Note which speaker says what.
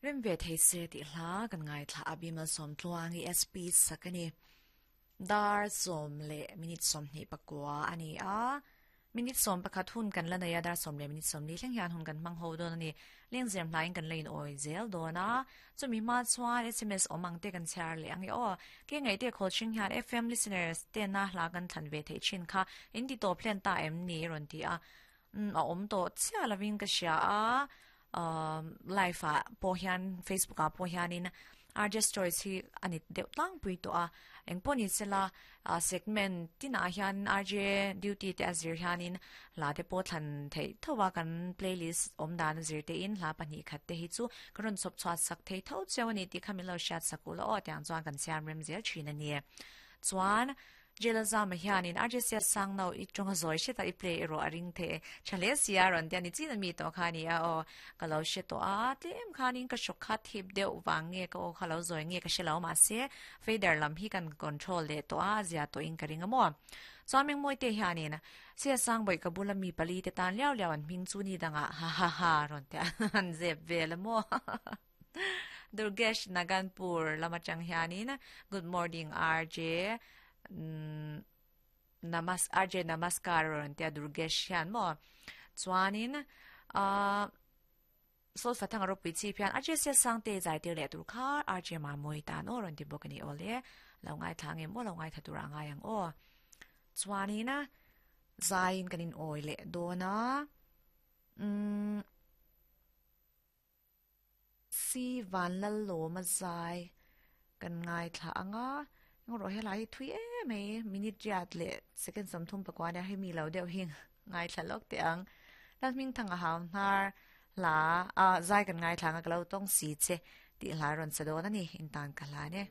Speaker 1: Rem ve thei se tih hla kan ngaithla a, Bimal Sawmtluangi SP sak a ni. Dar sawm leh minute 24 a ni a, minute 11 hun kan la nei a, dar sawm leh minute 40 thleng hian hun kan hmang ho dawn a ni. Lengzem hlaiin kan la in awi zel dawn a, chumi hma chuan sms awm ang te kan chhiar leh ang e aw. Ke ngaihte khawl hring hian FM listeners tena hla kan thlan ve theih thin kha in ti tawp hlen ta em ni rawn ti a, a awm tawh chiah lovin ka hria a. Live ah pawh hian Facebook ah pawh hianin RJ Stories hi a ni deuh tlangpui tawh a, engpawh ni sela segment tinah hian RJ duty te a zir hianin hla te pawh thlan theih tho a, kan playlist awm dan a zir te in hla pahnih khat te hi chu ka rawn chhawp chhuat sak thei tho cheu a ni tih kha min lo hriat sak u la aw tiang chuan kan siam rem zel thin a ni. Chuan. Jela Zama hianin RJCS sang no i tawnga zawi hret a i play erawh a ring thei e. Tha hle si a rawn ti a ni chin a mi tawh kha a ni a aw. Ka lo hre tawh a, tlem khanin ka hrawk kha thip deuh vang nge ka aw kha lo zawi nge ka hre lo mahse fader lam hi kan control leh tawh a, a zia tawhin ka ring a maw. Chuan Mengmawite hianin CS sang bawih ka bula mi pali te tan liau liau an hming chu ni dangah ha ha ha rawn ti a an zep vel a maw. Durgesh Naganpur lam atang hianin Good morning RJ Namas RJ Namaskar rawn tia Durgesh hian maw chuanin uh, Solfa thanga ropui chip hian RJ Sia Sangte zai tir leh tur kha RJ Mamui tan aw rawn ti bawk ani awle lo ngai thla nge maw lo ngai tha tur a ngai ang aw chuanin zaiin kanin awi leh dawna um Si Vanlallawma zai kan ngaithla ang a, engrawh helai hi thui em mai, minute riat leh second 34 ania hemi lo deuh hi ngaithla lawk teh ang. Lalhmingthanga hau hnar hla ah zai kan ngaithla ang a ka lo tawng si che tih hla rawn sa dawn a ni, intan ka hlan e.